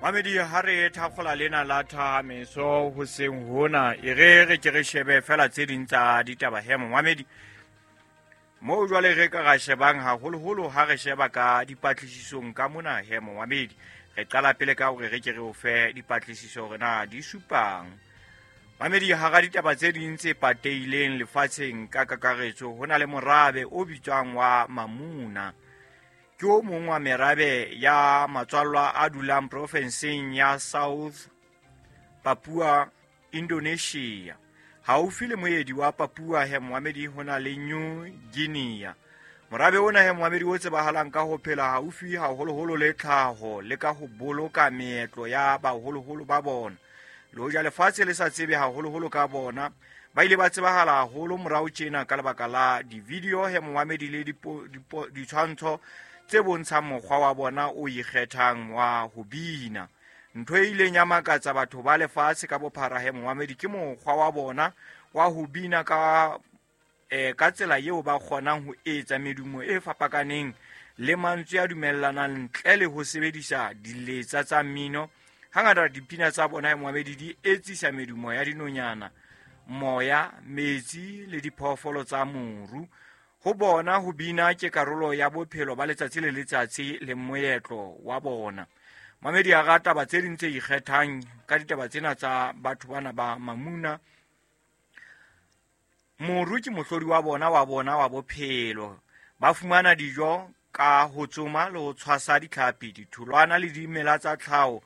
Mamedi, ha re thakgola lena la thahameso hoseng hona, e re re ke re shebe fela tse ding tsa ditaba he momamedi. Moo jwale re ka ra shebang haholoholo ha re sheba ka dipatlisisong ka mona he momamedi. Re qala pele ka hore re ke re o fe dipatlisiso hore na di supang. Mamedi, hara ditaba tse ding tse patehileng lefatsheng ka kakaretso, ho na le morabe o bitswang wa Mamuna. Ke o mong wa merabe ya matswallwa a dulang profenseng ya South Papua, Indonesia. Haufi le moedi wa Papua he moamedi ho na le New Guinea. Morabe ona he moamedi o tsebahalang ka ho phela haufi haholoholo le tlhaho le ka ho boloka meetlo ya baholoholo ba bona. Le hoja lefatshe le sa tsebe haholoholo ka bona, ba ile ba tsebahala haholo morao tjena ka lebaka la di-video he moamedi le ditshwantsho tse bontshang mokgwa wa bona o ikgethang wa ho bina. Ntho e ileng ya makatsa batho ba lefatshe ka bophara he moamedi ke mokgwa wa bona wa ho bina ka ka tsela eo ba kgonang ho etsa medumo e fapakaneng le mantswe a dumellanang ntle le ho sebedisa diletsa tsa mmino. Hangata dipina tsa bona he moamedi di etsisa medumo ya dinonyana, moya, metsi le diphoofolo tsa moru. Ho bona ho bina ke karolo ya bophelo ba letsatsi le letsatsi le moetlo wa bona. Mamedi a rata taba tse ding tse ikgethang ka ditaba tsena tsa batho bana ba Mamuna. Moru ke mohlodi wa bona wa bona wa bophelo. Ba fumana dijo ka ho tsoma le ho tshwasa ditlhapi, ditholwana le dimela tsa tlhaho,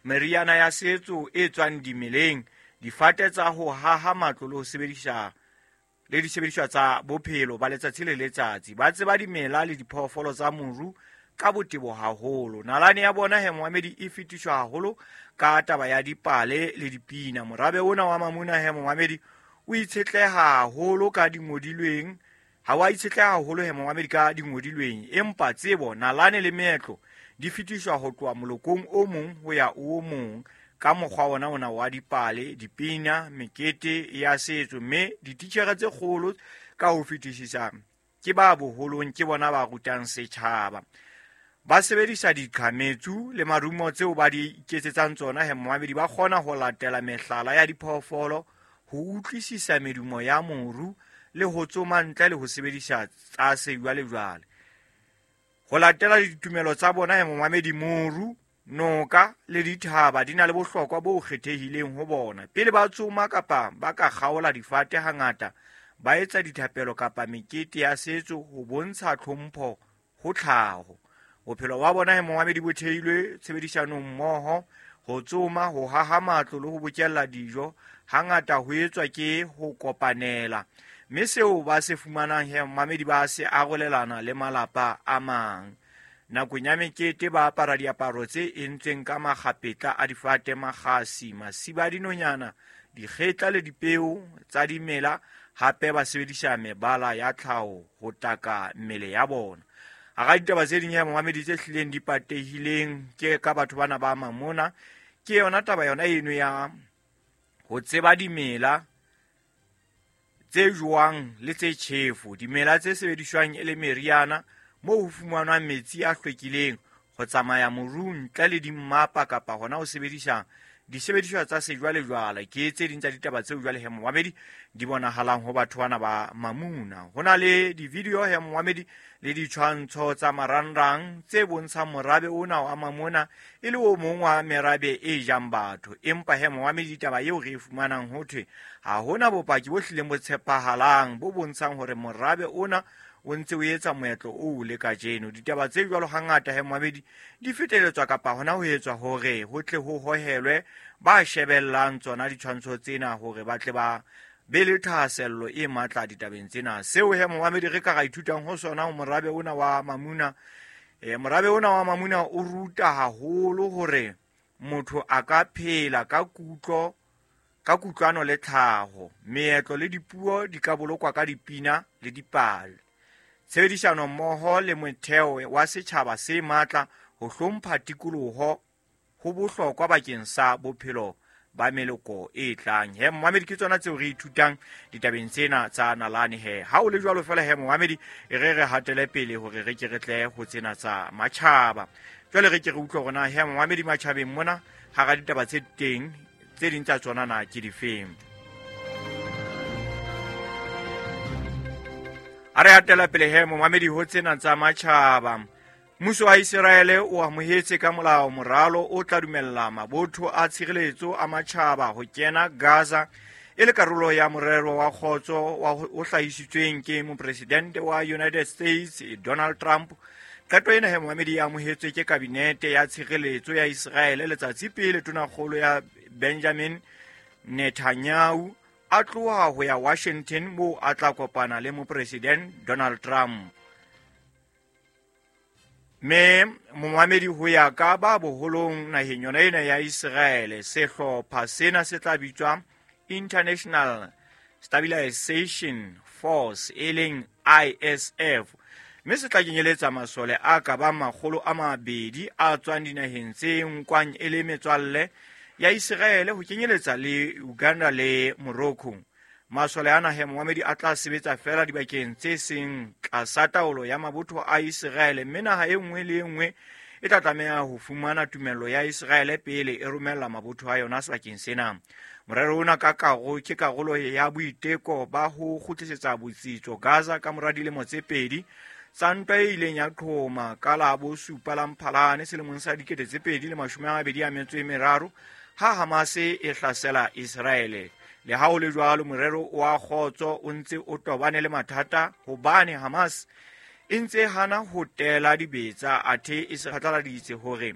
meriana ya setso e tswang dimeleng, difate tsa ho haha matlo le ho sebedisa le disebediswa tsa bophelo ba letsatsi le letsatsi. Ba tseba dimela le diphoofolo tsa moru ka botebo haholo. Nalane ya bona he moamedi e fetiswa haholo ka taba ya dipale le dipina. Morabe ona wa Mamuna he moamedi o itshetleha haholo ka dingodilweng, ha wa itshetleha haholo he moamedi ka dingodilweng, empa tsebo, nalane le meetlo di fetiswa ho tloha molokong o mong ho ya o mong ka mokgwa ona ona wa dipale, dipina, mekete ya setso. Mme dititjhere tse kgolo ka ho fetisisa ke ba boholong, ke bona ba rutang setjhaba. Ba sebedisa diqhametsu le marumo tseo ba di iketsetsang tsona he moamedi, ba kgona ho latela mehlala ya diphoofolo, ho utlwisisa medumo ya moru le ho tsoma ntle le ho sebedisa tsa sejwalejwale. Ho latela ditumelo tsa bona he momamedi, moru, noka le dithaba di na le bohlokwa bo kgethehileng ho bona. Pele ba tsoma kapa ba ka kgaola difate, hangata ba etsa dithapelo kapa mekete ya setso ho bontsha tlhompho ho tlhaho. Bophelo ba bona he momamedi bo theilwe tshebedisanong mmoho, ho tsoma, ho haha matlo le ho bokella dijo. Hangata ho etswa ke ho kopanela, mme seo ba se fumanang he momamedi ba se arolelana le malapa a mang. Nakong ya mekete ba apara diaparo tse entsweng ka makgapetla a difate, makgasi, masiba a dinonyana, dikgetla le dipeo tsa dimela. Hape ba sebedisa mebala ya tlhaho ho taka mmele ya bona. Hara ditaba tse ding ya momamedi tse hlileng di patehileng ke ka batho bana ba Mamona, ke yona taba yona eno ya ho tseba dimela tse jowang le tse tjhefo, dimela tse sebediswang e le meriana moo ho fumanwang metsi a hlwekileng, ho tsamaya morung ntle le dimmapa kapa hona ho sebedisa disebediswa tsa sejwalejwale. Ke tse ding tsa ditaba tseo jwale he momamedi di bonahalang ho batho bana ba Mamuna. Ho na le di-video he momamedi le ditshwantsho tsa marangrang tse bontshang morabe ona wa Mamuna e le o mong wa merabe e jang batho. Empa he momamedi, taba eo re e fumanang ho thwe ha hona bopaki bo hlileng bo tshepahalang bo bontshang hore morabe ona o ntse o etsa moetlo oo le kajeno. Ditaba tse jwalo hangata he momamedi di feteletswa kapa hona ho etswa hore ho tle ho hohelwe ba shebellang tsona ditshwantsho tsena hore ba tle ba be le thahasello e matla ditabeng tsena. Seo he momamedi re ka ra ithutang ho sona ho morabe ona wa Mamuna, morabe ona wa Mamuna o ruta haholo hore motho a ka phela ka kutlo, ka kutlwano le tlhaho. Meetlo le dipuo di ka bolokwa ka dipina le dipale. Tshebedisano mmoho le motheo wa setjhaba se matla, ho hlompha tikoloho ho bohlokwa bakeng sa bophelo ba meloko e tlang. He momamedi, ke tsona tseo re ithutang ditabeng tsena tsa nalane. He ha o le jwalo fela, he momamedi, e re re hatele pele hore re ke re tle ho tsena tsa matjhaba. Jwale re ke re utlwe hore na, he momamedi, matjhabeng mona hara ditaba tse teng, tse ding tsa tsona na ke difeng. A re hatela pele, he momamedi, ho tsena tsa matjhaba. Mmuso wa Iseraele o amohetse ka molao moralo o tla dumella mabotho a tshireletso a matjhaba ho kena Gaza e le karolo ya morero wa kgotso o hlahisitsweng ke mopresidente wa United States Donald Trump. Qeto ena, he momamedi, e amohetswe ke kabinete ya tshireletso ya Iseraele letsatsi pele tonakgolo ya Benjamin Netanyahu a tloha ho ya Washington, moo a tla kopana le mopresidente Donald Trump. Me momamedi, ho ya ka ba boholong naheng yona ena ya Iseraele, sehlopha sena se tla bitswa International Stabilization Force, e leng ISF, mme se tla kenyeletsa masole a ka bang 200 a tswang dinaheng tse nkwang e le metswalle ya Iseraele, ho kenyeletsa le Uganda le Morocco. Masole a nahe, momamedi, a tla sebetsa fela dibakeng tse seng tlasa taolo ya mabotho a Iseraele, mme naha e nngwe le e nngwe e tla tlameha ho fumana tumello ya Iseraele pele e romella mabotho a yona sebakeng sena. Morero ona ka karo ke karolo ya boiteko ba ho kgutlisetsa botsitso Gaza ka mora dilemo tse 2 tsa ntwa e ileng ya qhoma ka la bo 7 la Mphalane selemong sa 2023 ha Hamas e hlasela Iseraele. Le ha ho le jwalo, morero wa kgotso o ntse o tobane le mathata hobane Hamas e ntse hana ho tela dibetsa, athe e se phatlaladitse hore